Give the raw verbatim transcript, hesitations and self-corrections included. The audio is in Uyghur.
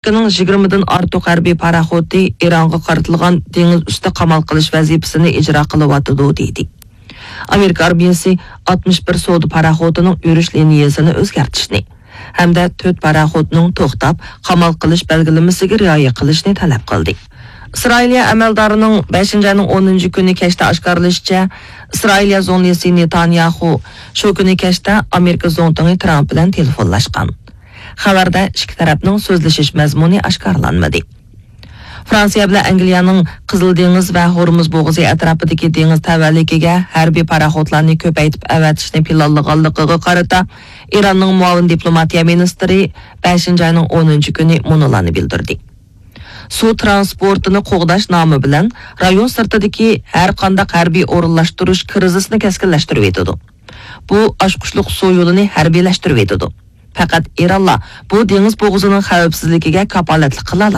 ئامېرىكىنىڭ يىگىرمىدىن ئارتۇق ھەربىي پاراخوتى ئىرانغا قارىتىلغان دېڭىز ئۈستى قامال قىلىش ۋەزىپىسىنى ئىجرا قىلىۋاتىدۇ، دېدى. ئامېرىكا ئارمىيەسى ئاتمىش بىر سودا پاراخوتىنىڭ يۈرۈش لىنىيەسىنى ئۆزگەرتىشنى ھەمدە تۆت پاراخوتنىڭ توختاپ، قامال قىلىش بەلگىلىمىسىگە رىئايە قىلىشنى تەلەپ قىلدى. ئىسرائىلىيە ئەمەلدارىنىڭ بەشىنچى ئاينىڭ ئونىنچى كۈنى كەچتە ئاشكارىلىشىچە، ئىسرائىلىيە زۇڭلىسى نېتانياخۇ شۇ كۈنى كەچتە ئامېرىكا زۇڭتۇڭى ترامپ بىلەن تېلېفونلاشقان. خەۋەردە ئىككى تەرەپنىڭ سۆزلىشىش مەزمۇنى ئاشكارىلانمىدى. فرانسىيە بىلەن ئەنگلىيەنىڭ قىزىل دېڭىز ۋە ھورمۇز بوغۇزى ئەتراپىدىكى دېڭىز تەۋەلىكىگە ھەربىي پاراخوتلارنى كۆپەيتىپ ئەۋەتىشنى پىلانلىغانلىقىغا قارىتا، ئىراننىڭ مۇئاۋىن دىپلوماتىيە مىنىستىرى بەشىنچى ئاينىڭ ئونىنچى كۈنى مۇنۇلارنى بىلدۈردى. سۇ ترانسپورتىنى قوغداش نامى بىلەن رايون سىرتىدىكى ھەر قانداق ھەربىي ئورۇنلاشتۇرۇش كىرىزىسىنى كەسكىنلەشتۈرۈۋېتىدۇ. بۇ ئاچقۇچلۇق سۇ يولىنى ھەربىيلەشتۈرۈۋېتىدۇ. پەقەت ئىرانلا بۇ دېڭىز بوغۇزىنىڭ خەۋپسىزلىكىگە كاپالەتلىك قىلالايدۇ.